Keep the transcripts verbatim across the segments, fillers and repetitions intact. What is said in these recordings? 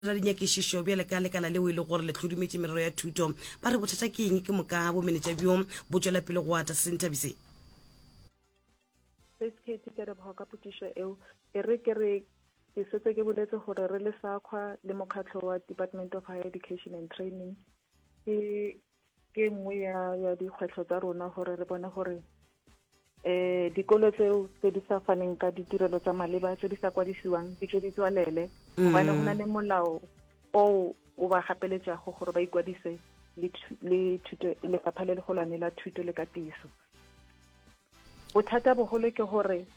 Dira dinyakišišo bjale ka lekala leo e le gore le hlodumetše merero ya thuto. Ba re bothata ke eng ke moka bomenetša bjo bo tšwela pele go ata? Senthabise. Sis Katie, ke leboga ka potšišo eo. E re ke re ke setse ke boletse gore re le SAQA le mokgatlho wa Department of Higher Education and Training, ke ke nngwe ya ya dikgwetlho tsa rona gore re bone gore eh dikolo tseo tse di sa faneng ka ditirelo tsa maleba, tse di sa kwadisiwang, di tle di tswalele, gobane go na le molao o o ba gapeletšago gore ba ikwadise le le thuto, lefapha le legolwane la thuto le katiso. Bothata bogolo ke gore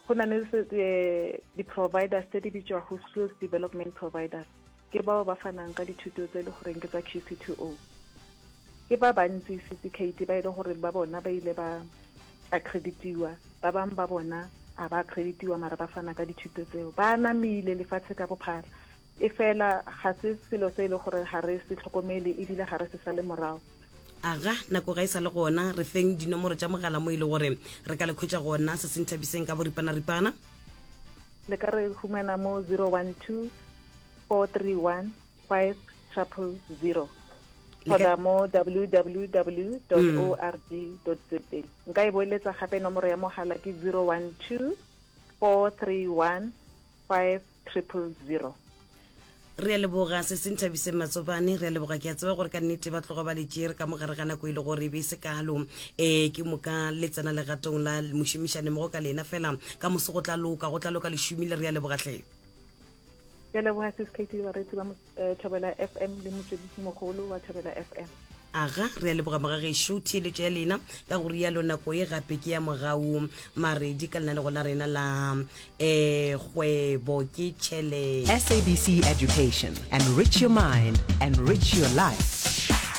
go na le eh, di-providers tse di bitswago skills development providers, ke bao ba fanang ka dithuto tse e le goreng ke tsa Q C two O. Ke ba bantsi, C C K T, ba e le gore ba bona ba ile ba accreditiwa, ba bangwe ba bona a ba accreditiwa, mara ba fana ka dithuto tseo, ba namile lefatshe ka bophara. E fela ga se selo se e le gore ga re se tlhokomele, ebile ga re se sale morago. Aga, nako ga e sa le gona. Re feng dinomoro tša mogala mo e le gore re ka le khwetša gona, se Senthabiseng, ka boripana-ripana. Le ka re humana mo zero one two, four three one, five triple zero kgotsa mo W W W dot org dot za. Nka e boeletsa gape, nomoro ya mogala ke zero one two, four three one, five triple zero. Re a leboga, se Senthabiseng Matsobane, re a leboga. Ke a tseba gore ka nnete ba tloga ba le tšere ka mogare ga nako e le gore e be e se kalo, um ke moka le tsena legatong la mošomišane mogo ka lena fela. Ka moso go tla loka, go tla loka. Lešomile, re a leboga tlhe. Ke a leboga, Sis Katie, bareetsi ba eh, Thobela F M le motswedisi mogolo wa Thobela F M. Aga, re a leboga mogagešo, theeletšo ya lena. Ka go rialo nako e gape ke ya mogau Maredi ka lenanego la rena la um Kgwebo ke Tšhelete. S A B C Education. Enrich your mind, enrich your life.